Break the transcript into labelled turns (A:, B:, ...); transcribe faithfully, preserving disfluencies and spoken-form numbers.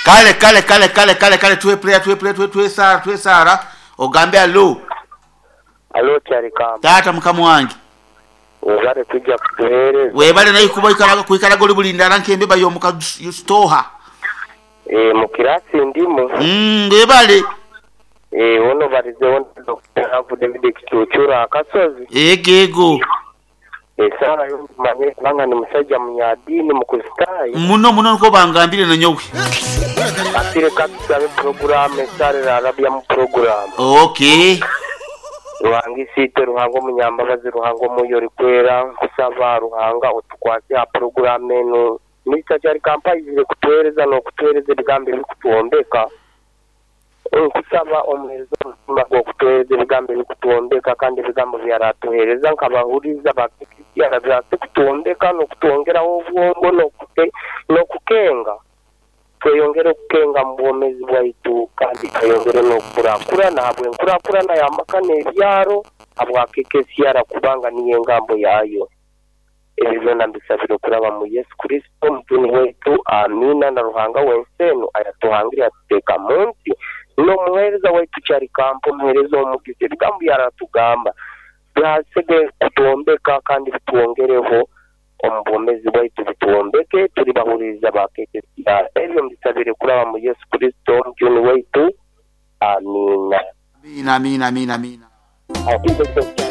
A: Kale kale kale kale kale kale tuwe prayer, tuwe prayer, tuwe tuwe sara, tuwe sara. Ogambe alo.
B: Alo Kyarikamba.
A: Tata mukama wange.
B: Webale tujja kutuheereza.
A: Webale naye kuba ikaraga kuikaraga oli bulindala nkembe bayo muka stoha.
B: Eh, mu kirasi ndimu.
A: Mm, webale.
B: Eh, ono balizewo Doctor David Kichuchura akasozi.
A: Ego ego.
B: Esara yo manye kubanga ni musajja munyadini mukristaayo.
A: Muno muno nko bangambire na nyowe.
B: Atire katusabe programu esare arabya mu programu.
A: Okay.
B: Ruhanga isite, Ruhanga omunyambabazi, Ruhanga omwoyo orikwera, nkusaba Ruhanga otukwase aha programu eno. Mister Kyarikamba aizire kutuheereza n'okutuheereza ebigambo ebikutuwombeka. Nkusaba omuheereza omutima gw'okutuheereza ebigambo ebikutuwombeka kandi ebigambo byaratuheereza nkabahuriza bakikiriza byase kutuwombeka n'okutwongeraho obwongo n'okute n'okukenga. Tweyongere okukenga mu bwomezi bwaitu kandi tweyongere n'okukurakurana habw'enkurakurana y'amaka n'ebyaro habwakekesiyara kubanga niyo engambo yaayo. Ebyo byona mbisabire okuraba mu Yesu Kristo omutuni waitu, amiina. Na Ruhanga w'ensi enu ayatuhangire atuteeka mu nsi n'omuheereza waitu Kyarikamba, omuheereza omugisa, ebigambo byaratugamba byasege kutuwombeka kandi bitwongereho omu bwomezi bwaitu, bituwombeke turi bahuririza ba K K C R. Ebyo mbisabire kuraba mu Yesu Kristo omujuni waitu, amiina.
A: Amina, amina, amina, amina.
B: Amina.